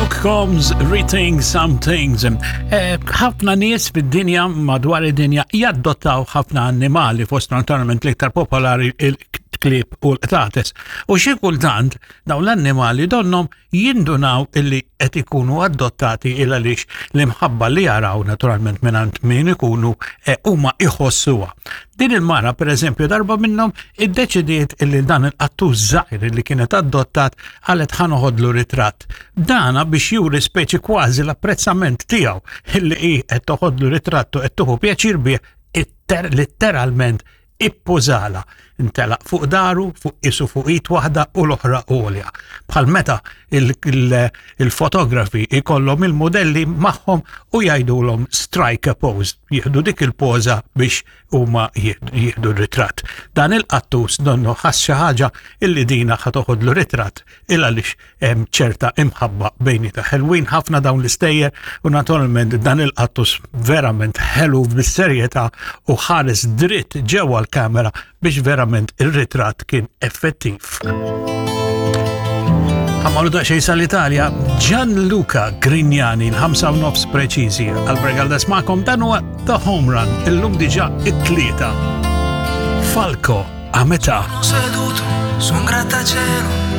Luke Combs, Rethink Some Things. Eh, ħafna nies fid-dinja madwar id-dinja jaddottaw ħafna annimali fost naturalment l-iktar popolari il-klieb u l-qtates. U xi kultant dawn l-annimali donnom jindunaw illi qed ikunu adottati il għaliex l-imħabba li jaraw naturalment mingħand min ikunu eh, huma iħossuha. Din il-mara pereżempju darba minnhom iddeċidiet illi dan il-qattus żgħir li kienet adottat qalet ħa noħodlu ritratt. Dana biex juri speċi kważi l-apprezzament tiegħu illi hi qed toħodlu ritratt u qed tuħu pjaċir bih litteralment ippożala, intelaq fuq daru, fuq isu fuq id waħda u l-oħra għolja. Bħal meta il-fotografi ikollhom il-modelli magħhom u jgħidulhom strike a pose, jieħdu dik il-poża biex huma jieħdu r-ritratt. Dan il-qattus donnu ħass xi ħaġa illi dina ħa toħodlu ritratt il għaliex hemm ċerta imħabba bejnieta. Ħelwin ħafna dawn l-istejjer u naturalment dan il-qattus verament ħelu bis-serjetà u ħares dritt ġewwa l-kamera biex verament ir-ritratt kien effettiv. Għamalu daqxej sal-Italja, Gianluca Grignani, l-5 u nofs preċiżi. Albert Galdes ma'kom dan huwa The Home Run, illum diġa it-tlieta. Falco a metà. Seduto su un grattacielo.